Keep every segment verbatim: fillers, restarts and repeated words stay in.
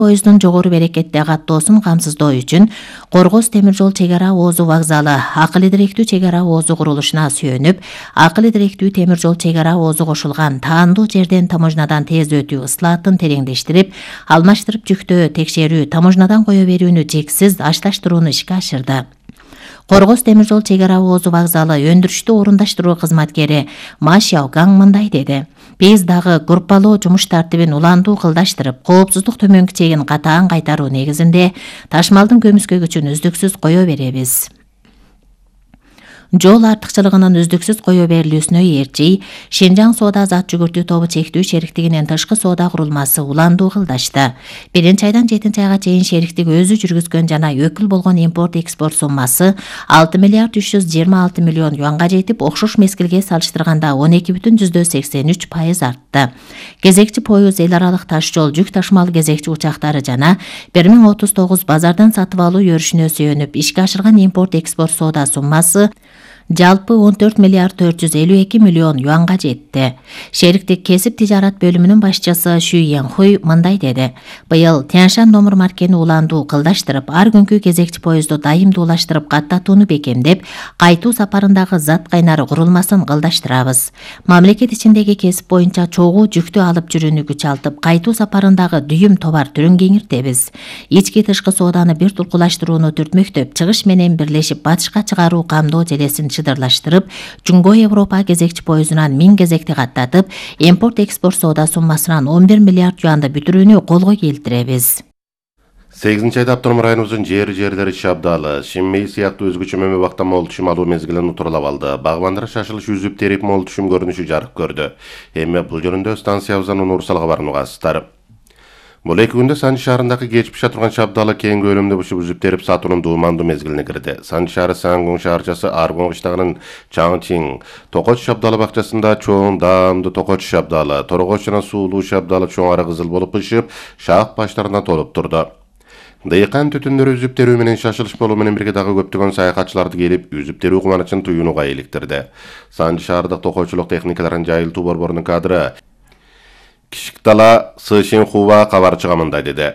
Поездун жогору берекетте каттоосун камсыздоо үчүн Коргоз темир жол чек ара оозу вокзалы акыл идиректүү чек ара оозу курулушуна сүйөнүп, акыл идиректүү темир жол чек ара оозу кошулган таандуу жерден таможнядан тез өтүү ыслаатын тереңдештирип, алмаштырып жүктөө текшерүү, таможнядан кое берүүнү жексиз ашташтырууну ишке ашырды. Коргоз темир жол чек ара оозу вокзалы өндүрүштү орундаштыруу кызматкери Ма Шяогаң мындай деди: Биз дагы группалоо жумуш тартибин уландуу кылдаштырып, коопсуздук төмөнкү чегин катаан кайтаруу негизинде ташмалдын көмүскөгүчүн үздүксүз кое беребиз. Жол артыкчылыгынын үздүксүз кое берилүүсүнө ээрчи Шинжаң соода зат жүгүртүү тобу чектүү шериктигинин тышкы соода курулмасы уландуу кылдашты. Биринчи айдан жетинчи айга чейин шериктик өзү жүргүзгөн жана өкүл болгон импорт-экспорт суммасы алты миллиард үч жүз жыйырма алты миллион юанга жетип, окшош мезгилге салыштырганда он эки бүтүн жүздөн сексен үч пайыз артты. Кезекчи поезд, эл аралык таш жол, жүк ташмал кезекчи учактары жана бир миң отуз тогуз базардан сатып алуу өрүшүнө сүйөнүп ишке ашырган импорт-экспорт соода суммасы жалпы он төрт миллиард төрт жүз элүү эки миллион юанга жетти. Шериктик кесип тижарат бөлүмүнүн башчысы Шү Янхуй мындай деди: Быйыл Тяншан номер маркени уландуу кылдаштырып, ар күнкү кезекчи поездду дайымдуулаштырып каттатууну бекемдеп, кайтуу сапарындагы зат кайнары курулмасын кылдаштырабыз. Мамлекет ичиндеги кесип боюнча чогуу жүктү алып жүрүүнү күчалтып, кайтуу сапарындагы дүйүм товар түрүн кеңиртебиз. Ички тышкы сооданы бир туркулаштырууну түртмөктөп, чыгыш менен бирлешип батышка чыгаруу камдоо желесин чыдырлаштырып, Жуңго Европа кезекчи поездунан миң кезекти каттатып, импорт-экспорт соода суммасынан он бир миллиард юанды бүтүрүүнү колго келтиребиз. сегизинчи айда автоном районубуздун жер жерлери Шабдалы, Шинмей сыяктуу өзгөчө мөмө убакта мол түшүм алуу мезгилин утурлап алды. Багбандар шашылыш үзүп терип мол түшүм көрүнүшү жарык көрдү. Эми бул жөнүндө станциябыздан уурсал кабарын угасыздар. Бул эки күндө Санжы шаарындагы кеч пиша турган Шабдалы кең көлөмдө бушуп үзүп терип сатуунун дуумандуу мезгилине кирди. Санжы шаары Сангоң шаарчасы Аргон кыштагынын Чаңчиң, Токоч Шабдалы бакчасында чоң даамдуу Токоч Шабдалы, Торгоч жана Суулуу Шабдалы чоң ара кызыл болуп бышып, шаак баштарына толуп турду. Дыйкан түтүндөрү үзүп терүү менен шашылыш болуу менен бирге дагы көптөгөн саякатчыларды келип, үзүп терүү кубанычын туюунуга иликтирди. Санжы шаардык токойчулук техникаларын жайылтуу борборунун кадры Кишиктала Сышин Хува кабарчыга мындай деди: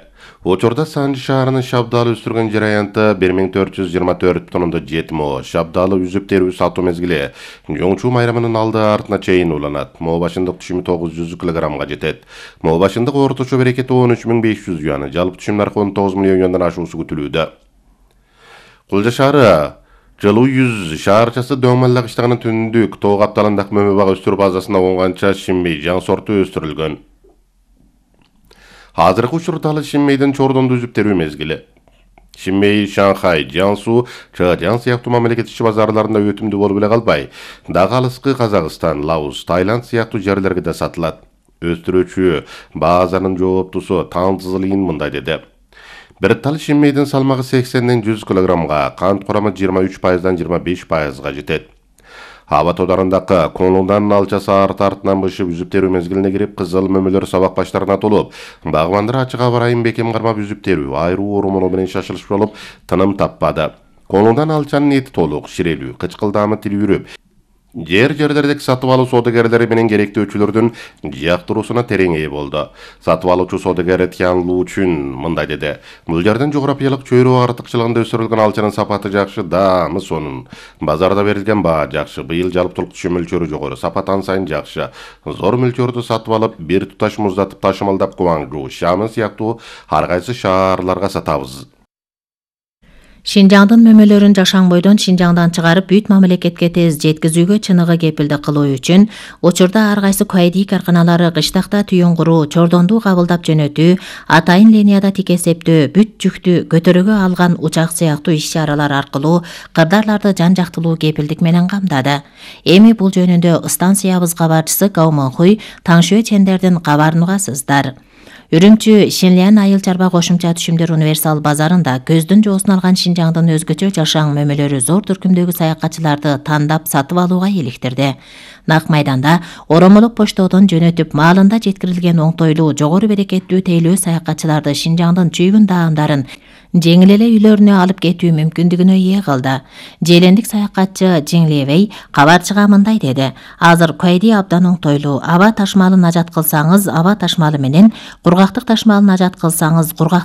Учурда Санжы шаарынын Шабдалы өстүргөн жер аянты бир миң төрт жүз жыйырма төрт тоннада жети мо. Шабдалы үзүп терүү сатуу мезгили Жоңчу майрамынын алды артына чейин уланат. Мо башындык түшүмү тогуз жүз килограммга жетет. Мо башындык орточо берекети он үч миң беш жүз юан, жалпы түшүм наркы он тогуз миллион юандан ашуусу күтүлүүдө. Кулжа шаары Жылуу жүз шаарчасы Дөңмалла кыштагынын түндүк тоо капталындагы мөмө бак өстүрүү базасында оңганча Шинмей жаң сорту өстүрүлгөн. Азыркы учурда ал Шинмейдин Чордонду үзүп терүү мезгили. Шинмей, Шанхай, Жансу, Чжан сыяктуу мамлекет ичи базарларында өтүмдүү болуп эле калбай, дагы алыскы Казакстан, Лаос, Таиланд сыяктуу жерлерге да сатылат. Өстүрүүчү базанын жооптусу Таңзылын мындай деди: Бир тал Шинмейдин салмагы сексенден жүз килограммга, кант курамы жыйырма үч пайыздан жыйырма беш пайызга жетет. Аба тодарындагы Конундан алчасы арт артынан бышып үзүп терүү мезгилине кирип, кызыл мөмөлөр сабак баштарына толуп, багбандар ачык аба ырайын бекем кармап үзүп терүү, айруу оромолу менен шашылыш болуп, тыным таппады. Конундан алчанын эти толук, ширелүү, кычкылдаамы тилүүрүп, жер жерлердеги сатып алуу соодагерлери менен керектөөчүлөрдүн жактыруусуна терең ээ болду. Сатып алуучу соодагер Тян Лучун мындай деди: Бул жердин жографиялык чөйрө артыкчылыгында өсүрүлгөн алчанын сапаты жакшы, даамы сонун. Базарда берилген баа жакшы. Быйыл жалптылык түшүм мөлчөрү жогору, сапат ан сайын жакшы. Зор мөлчөрдү сатып алып, бир туташ муздатып ташымалдап Гуаңжу, Шамын сыяктуу ар кайсы шаарларга сатабыз. Шинжаңдын мөмөлөрүн Жашаңбойдон Шинжаңдан чыгарып, бүт мамлекетке тез жеткизүүгө чыныгы кепилдик кылуу үчүн учурда ар кайсы куайди карканалары кыштакта түйүн куруу, Чордонду кабылдап жөнөтүү, атайын линияда тикесептөө, бүт жүктү көтөрөгө алган учак сыяктуу иш-чаралар аркылуу кырдаарларды жан жактылуу кепилдик менен камдады. Эми бул жөнүндө станциябыз кабарчысы Гау Мэнхуй Таңшуэ Чендердин кабарын угасыздар. Үрүмчү Шинлян айыл чарба кошумча түшүмдөр универсал базарында көздүн жоосун алган Шинжаңдын өзгөчө жашаң мөмөлөрү зор түркүмдөгү саякатчыларды тандап сатып алууга иликтирди. Нак майданда оромолук поштодон жөнөтүп маалында жеткирилген оңтойлуу жогору берекеттүү тейлөө саякатчыларды Шинжаңдын чүйгүн даамдарын жеңил эле үйлөрүнө алып кетүү мүмкүндүгүнө ээ кылды. Желендик саякатчы Жиңлебей кабарчыга мындай деди: азыр Куайди абдан оңтойлуу. Аба ташмалын ажат кылсаңыз, аба ташмалы менен, кургактык ташмалын ажат кылсаңыз, кургак